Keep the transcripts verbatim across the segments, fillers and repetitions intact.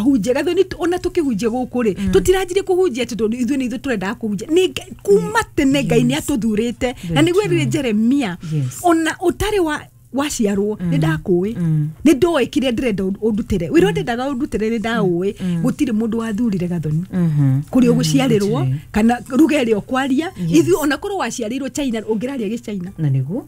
Ahunjia, Gathoni, ona tũkĩhunjia gũkũ rĩ, tũtiranjirie kũhunjia atĩ tondũ ithuĩ nĩ ithuĩ tũrendaga kũhunjia. Nĩ Ngai- kuma tene Ngai nĩ atũthurĩte, na nĩguo erire Jeremia, Yes. ona ũtarĩ wa waciarwo nĩ ndakũĩ, nĩ ndoĩ kĩrĩa ndĩrenda ũndutĩre, wĩra ũrĩa ndendaga ũndutĩre nĩ ndaũĩ. Gũtirĩ mũndũ wathurire Gathoni Mhm. kũrĩa ũgũciarĩrwo Gũtirĩ. kana ruga ĩrĩa ũkwaria. Ithuĩ ona korwo waciarĩirwo China, ũngĩraria gĩchina. Na nĩguo.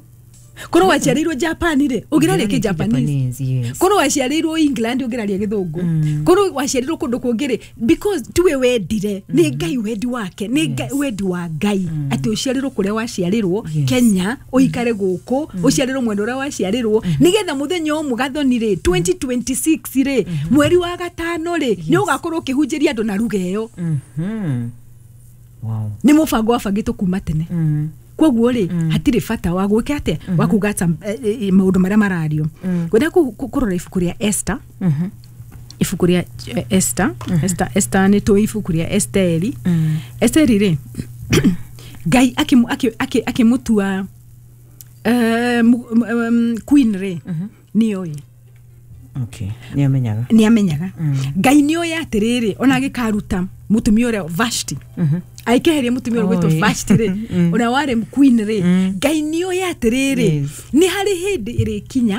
Korwo waciarĩirwo Japan rĩ, ũngĩraria kĩjapanese. Japanese, yes. Korwo waciarĩirwo England, ũngĩraria gĩthũngũ. Korwo waciarĩirwo kũndũ kũngĩ rĩ, because tiwe wendire, nĩ Ngai wendi wake, nĩ Ngai wendi wa Ngai atĩ ũciarĩrwo kũrĩa waciarĩrwo. Yes. Kenya, ũikare gũkũ, ũciarĩrwo mwena ũrĩa waciarĩrwo, nĩgetha mũthenya ũmwe, Gathoni rĩ, twenty twenty-six rĩ, mweri wa gatano rĩ, nĩ ũgakorwo ũkĩhunjĩria andũ na ruga ĩyo. Mhm. Wow. Nĩ mũbango wabangĩtwo kuma tene. Mm. Koguo rĩ, hatirĩ bata wa gwĩka atĩa, wa kuga ata eh, eh, maũndũ marĩa marario. Ngwenda kũ- kũ- kũrora ibuku rĩa Esther, Mhm. ibuku rĩa eh, Esther, Esther, Esther, nĩ tũĩ ibuku rĩa Esteri. Esteri rĩ, Ngai akĩmũ- akĩ- akĩ- akĩmũtua eh, mu- um, queen rĩ, nĩoĩ. Okay. Nĩ amenyaga. Nĩ amenyaga. Ngai nĩoĩ atĩrĩrĩ, ona agĩkaruta mũtumia ũrĩa Vashti, agĩkeheria mũtumia ũrĩa gwĩtwo Oi. Vashti rĩ, ũrĩa warĩ queen rĩ, Ngai nĩoĩ atĩrĩrĩ, Yes. nĩ harĩ hĩndĩ ĩrĩkinya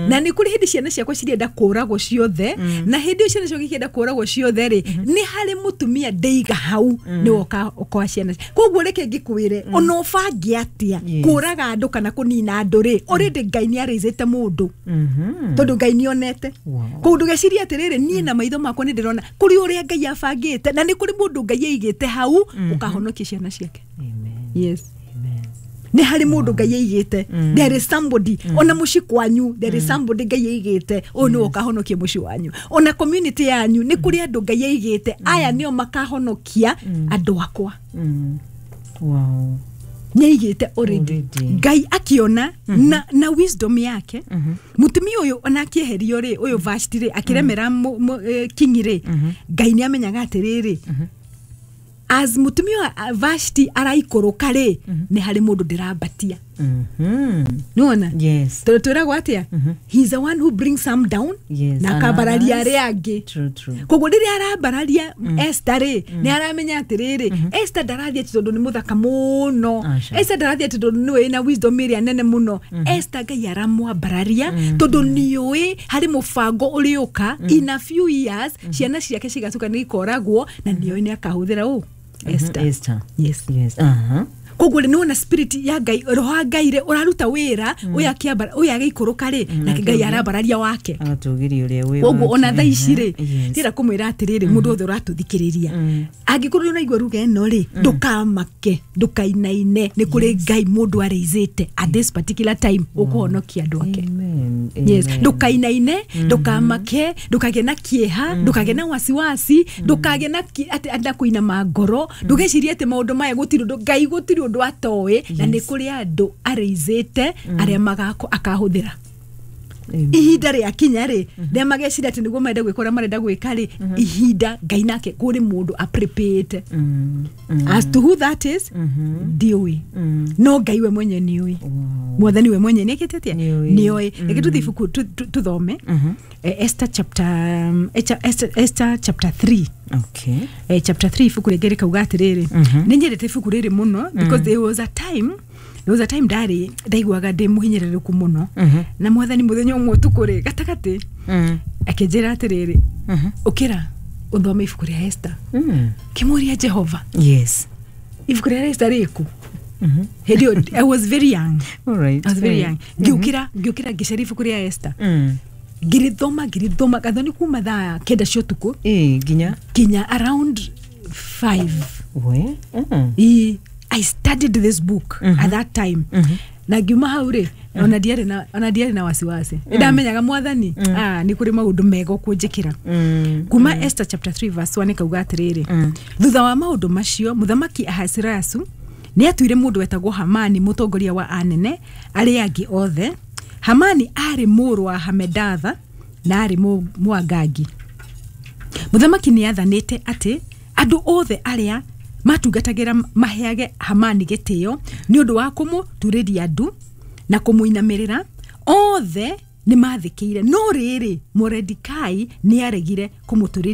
na nĩ kũrĩ hĩndĩ ciana ciakwa cirenda kũragwo ciothe, na hĩndĩ ĩyo ciana ciakwa ikĩenda kũragwo ciothe rĩ, nĩ harĩ mũtumia ndeiga hau nĩwe ũka- ũkoa ciana. Koguo reke ngĩkwĩre, ona ũbange atĩa Yes. kũraga andũ kana kũnina andũ rĩ, already Ngai nĩ arĩcĩte mũndũ, Mhm. tondũ Ngai nĩ onete. Wow. Koguo ndũgecirie atĩrĩrĩ, niĩ na maitho makwa nĩ ndĩrona kũrĩ ũrĩa Ngai abangĩte, na nĩ kũrĩ mũndũ Ngai aigĩte hau ũkahonokia ciana ciake. Amen. Yes. Amen. Nĩ harĩ mũndũ Ngai aigĩte. There is somebody, ona mũciĩ kwanyu there is somebody Ngai aigĩte, ũyũ nĩwe ũkahonokia mũciĩ wanyu. Ona community yanyu nĩ kũrĩ andũ Ngai aigĩte, aya nĩo makahonokia andũ akwa. Mm. Wow. Nĩ aigĩte already. Already. Ngai akiona na, na wisdom yake, mutumia ũyũ ona akĩeherio rĩ, ũyũ Vashti rĩ, akĩremera mu- mu- eh, king rĩ, Ngai nĩ amenyaga atĩrĩrĩ, as mutumia wa Vashti araikũrũka rĩ, nĩ harĩ mũndũ ndĩrambatia. Mhm. Nĩwona? Yes. Tondũ twĩragwo atĩa? He is the one who brings some down Yes, na and akambararia others. arĩa angĩ. True, true. Koguo rĩrĩa arambararia Esther rĩ, nĩ aramenya atĩrĩrĩ, Esther ndarathiĩ atĩ tondũ nĩ mũthaka mũno. Aca. Esther ndarathiĩ atĩ tondũ nĩwe wĩna wisdom ĩrĩa nene mũno. Esther Ngai aramwambararia tondũ nĩũĩ harĩ mũbango ũrĩũka in a few years, ciana ciake cigatuĩka nĩ ikoragwo, na nĩoĩ nĩ akahũthĩra ũ Esther. Esther. Yes. Yes. Uh-huh. Koguo rĩ, nĩwona spirit ya Ngai, roho wa Ngai rĩ, ũraruta wĩra, ũyũ akĩambara, ũyũ agĩikũrũka rĩ, nake Ngai arambararia wake. Agatũgĩria ũrĩa wĩ Koguo wake. ona thaa ici rĩ, Yes. ndĩrenda kũmwĩra atĩrĩrĩ, mũndũ wothe ũratũthikĩrĩria, angĩkorwo nĩ ũraigua ruga ĩno rĩ, ndũkamake, ndũkainaine. Nĩ kũrĩ Ngai mũndũ arĩizĩte at this particular time ũkũhonokia andũ ake. Amen. Yes. Amen. Ndũkainaine, ndũkamake, ndũkagĩe na kĩeha, ndũkagĩe na wasiwasi, ndũkagĩe na ki- atĩ atĩ na kũinama ngoro, ndũgecirie atĩ maũndũ maya gũtirĩ ũndũ Ngai, gũtirĩ ũndũ atoĩ, na nĩ kũrĩ andũ arĩizĩte arĩa magako akahũthĩra. Amen. Ihinda rĩakinya rĩ, rĩa mageciria atĩ nĩguo marenda gwĩka ũrĩa marenda gwĩka rĩ, ihinda Ngai nake kũrĩ mũndũ aprepĩte. Mm. Mm. As to who that is, ndiũĩ, no Ngai we mwenye nĩũĩ. Wow. Mwathani we mwenye nĩekĩte atĩa? Nĩũĩ. Nĩoĩ. Reke tũthiĩ ibuku tu- tu- tuthome Eh, Esther chapter um, Esther, Esther, Esther chapter three. Okay. eh, chapter three, ibuku rĩngĩ rĩkauga atĩrĩrĩ, nĩ nyendete ibuku rĩrĩ mũno because there was a time there was a time ndarĩ ndaiguaga ndĩ mũhinyĩrĩrĩku mũno, na Mwathani mũthenya ũmwe ũtukũ rĩ gatagatĩ Mm. akĩnjĩra atĩrĩrĩ, ũkĩra ũthome ibuku rĩa Esther. Mm. Kĩmũria Jehova, Yes. ibuku rĩa Esther rĩkũ? Hĩndĩ ĩyo I was very young. All right. I was very young. Ngĩũkĩra ngĩũkĩra ngĩcaria ibuku rĩa Esther. Mm. Ngĩrĩthoma, ngĩrĩthoma, Gathoni, kuma thaa kenda cia ũtukũ Eh, nginya nginya around five. We. Mm. I, I studied this book at that time, na ngiuma hau rĩ, ona ndiarĩ na ona ndiarĩ na wasiwasi. Nĩ ndamenyaga Mwathani, ah, nĩ kũrĩ maũndũ mega ũkũnjĩkĩra. Mm. Kuma Esther chapter three verse one kauga atĩrĩrĩ, thutha wa maũndũ macio, mũthamaki Ahasuerasu nĩ atuire mũndũ wetagwo Hamani mũtongoria wa anene arĩa angĩ othe. Hamani aarĩ mũrũ wa Hamedatha na aarĩ mũ- Mũangagi. Mũthamaki nĩ athanĩte atĩ andũ othe arĩa matungatagĩra maheage Hamani gĩtĩo nĩ ũndũ wa kũmũturĩria ndu na kũmũinamĩrĩra. Othe nĩ mathĩkĩire, no rĩrĩ, Moredikai nĩ aregire kũmũturĩria.